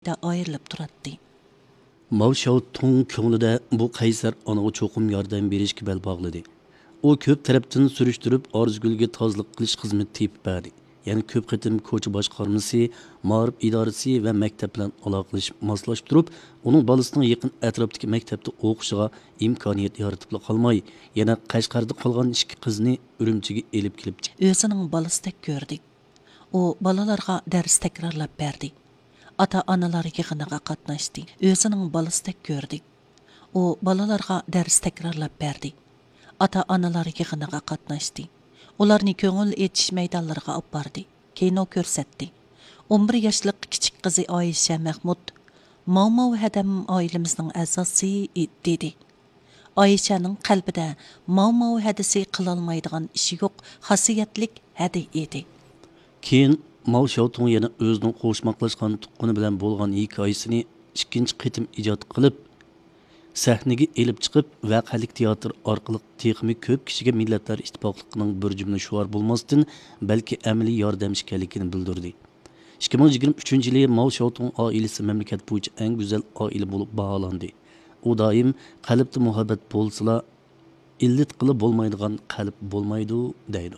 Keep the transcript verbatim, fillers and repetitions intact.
ئايرىلىپ تۇراتتى. ماۋ شياۋتۇڭ كۆڭلىدە بۇ قەيسەر ئانىغا چوقۇم ياردەم بېرىشكە بەل باغلىدى. ئۇ كۆپ تەرەپتىن سۈرۈشتۈرۈپ، ئارزۇگۈلگە تازىلىق قىلىش خىزمىتى تېپىپ بەردى. يەنە كۆپ قېتىم كوچا باشقارمىسى، مائارىپ ئىدارىسى ۋە مەكتەپ بىلەن ئالاقىلىشىپ ماسلاشتۇرۇپ، ئۇنىڭ بالىسىنىڭ يېقىن ئەتراپتىكى مەكتەپتە ئوقۇشىغا ئىمكانىيەت يارىتىپلا قالماي، يەنە قەشقەردە قالغان ئىككى قىزنى ئۈرۈمچىگە ئېلىپ كېلىپ چىقتى. ئۆزىنىڭ بالىسىدەك كۆردى. ئۇ بالىلارغا دەرس تەكرارلاپ بەردى. ئاتا-ئانىلار يىغىنىغا قاتناشتى. ئۆزىنىڭ بالىسىدەك كۆردى. ئۇ بالىلارغا دەرس تەكرارلاپ بەردى. ئاتا-ئانىلار يىغىنىغا قاتناشتى. ئۇلارنى كۆڭۈل ئېچىش مەيدانلىرىغا ئاپاردى. كىنو كۆرسەتتى. ئون بىر ياشلىق كىچىك قىزى ئايشە مەخمۇت، «ماۋماۋ ھەدەم ئائىلىمىزنىڭ ئەزاسى» دېدى. ئايشەنىڭ قەلبىدە ماۋماۋ ھەدىسى قىلالمايدىغان ئىشى يوق، خاسىيەتلىك ھەدە ئىدى. كېيىن ماۋ شياۋتۇڭ يەنە ئۆزىنىڭ قوشماقلاشقان تۇغقىنى بىلەن بولغان ھېكايىسىنى ئىككىنچى قېتىم ئىجاد قىلىپ، سەھنىگە ئېلىپ چىقىپ، ۋەقەلىك تىياتىر ئارقىلىق تېخىمۇ كۆپ كىشىگە مىللەتلەر ئىتتىپاقلىقىنىڭ بىر جۈملە شوئار بولماستىن، بەلكى ئەمەلىي ياردەم ئىكەنلىكىنى بىلدۈردى. ئىككى مىڭ يىگىرمە ئۈچىنچى يىلى ماۋ شياۋتۇڭ ئائىلىسى مەملىكەت بويىچە ئەڭ گۈزەل ئائىلە بولۇپ باھالاندى. ئۇ دائىم، «قەلبتە مۇھەببەت بولسىلا، ئىللىتقىلى بولمايدىغان قەلب بولمايدۇ» دەيدۇ.